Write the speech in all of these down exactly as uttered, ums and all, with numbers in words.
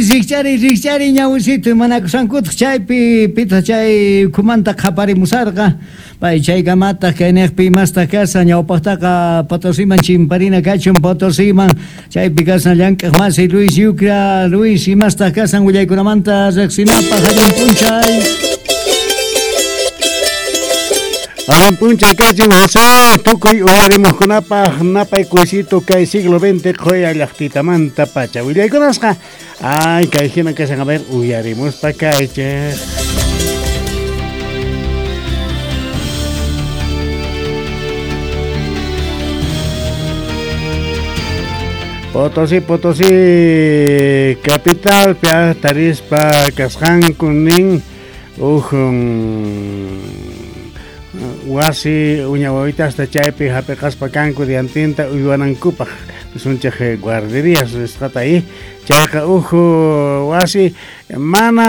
Rikch'ariy, rikch'ariy ñawisitu imanakusankutaq chaypi pitaq chay ukhumanta qhaparimusarqa. Pay chaykamataq kayniqpi imastaq kashan ñawpaqtaqa Potosiman chimparina kachun Potosiman chaypi kashan llank'aq masi Luis Yucra. Luis, imastaq kashan willaykunamanta riqsinapaq allin p'unchay. Allin p'unchay kachun José, tukuy uyarimuqkunapaq napay kuysito kay siglo veinte qhuya llaqtitamanta pacha willaykunasqa. Ay, kay hina kashan, a ver, uyarimuspa kaychej. Potosí, Potosí, capital, pia tarispa kasqanku nin uj wasi uña wawitasta chaypi hap'iqaspa kanku diantinta uywanankupaq sunchej guarderías nisqata ahí chayqa uj wasi mana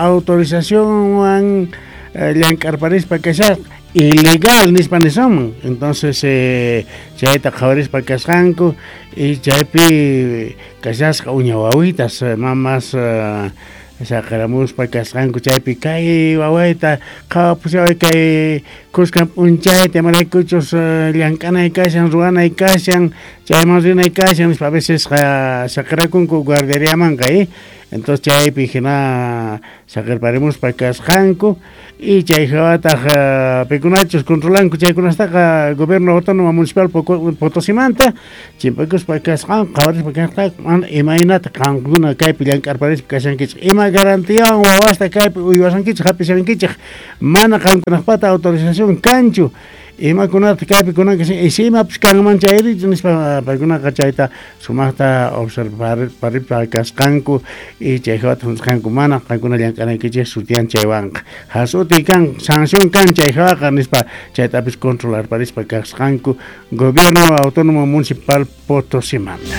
autorizacionwan llank'arparispa kasharqa ilegal nispa nisunman. Entonces eh, chayta qhawarispa kasqanku y chaypi kashasqa uña wawitas mamas uh, saqaramuspa kasqanku chaypi kay wawayta qhawapusaway kay kuskan p'unchayta imaraykuchus llank'anay kashan ruwanay kashan chayman rinay kashan nispa a veces saqarakunku guarderiamanqa eh? Entonces chaypi hina saqirparimuspa kasqanku y chay hawataq pikunachus controlanku chaykunastaqa gobierno autónomo municipal Potosimanta chimpakuspa kasqanku qhawarispa kasqanku mana imaynata qankuna kaypi llank'arparispa kashankichik ima garantiawan wawasta kaypi uywasankichik hap'ishankichik mana qankunaqpata autorización kanchu imakunata kaypi kunanka y imapis kanman chayrichu nispa paykunaqa chayta sumaqta observar kasqanku y chay hawata hunt'asqanku mana qankuna llank'anaykichik sutiyan chaywanqa has'uti kan sanción kan chay hawaqa nispa chaytapis controlarparispa kasqanku gobierno autónomo municipal Potosimanta.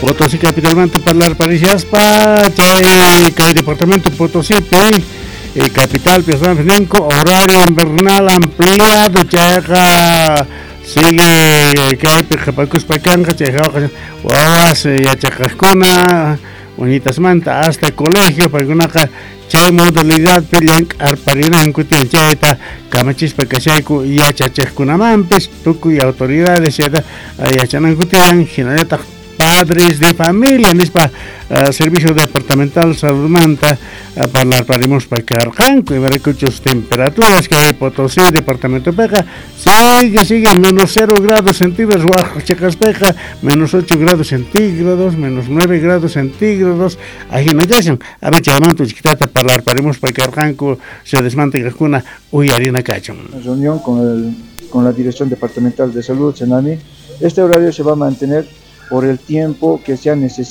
Potosí capitalmanta parlarparishaspa chay kay departamento Potosípi eh, capital ninko horario invernal ampliado chayqa sigue kaypi qhipakuspa kanqa chay hawaqa wawas yachaqaqkuna uñitasmanta hasta colegio paykunaqa chay modalidadpi llank'arparinanku tiyan chayta kamachispa kashayku yachachiqkunamanpis tukuy autoridades chayta yachananku tiyan hinallataq padres de familia nispa uh, servicio departamental saludmanta uh, parlarparimuspa karqanku imaraykuchus temperaturas que hay Potosí departamentopiqa sigue sigue menos cero grados centígrados waj chiqaspiqa menos ocho grados centígrados menos nueve grados centígrados ajina kashan a ver chaymanta uchkitata parlarparimuspa karqanku ciudadesmanta kaqkuna uyarina kachun. Reunión con el, con la Dirección Departamental de Salud, Senami. Este horario se va a mantener por el tiempo que sea necesario.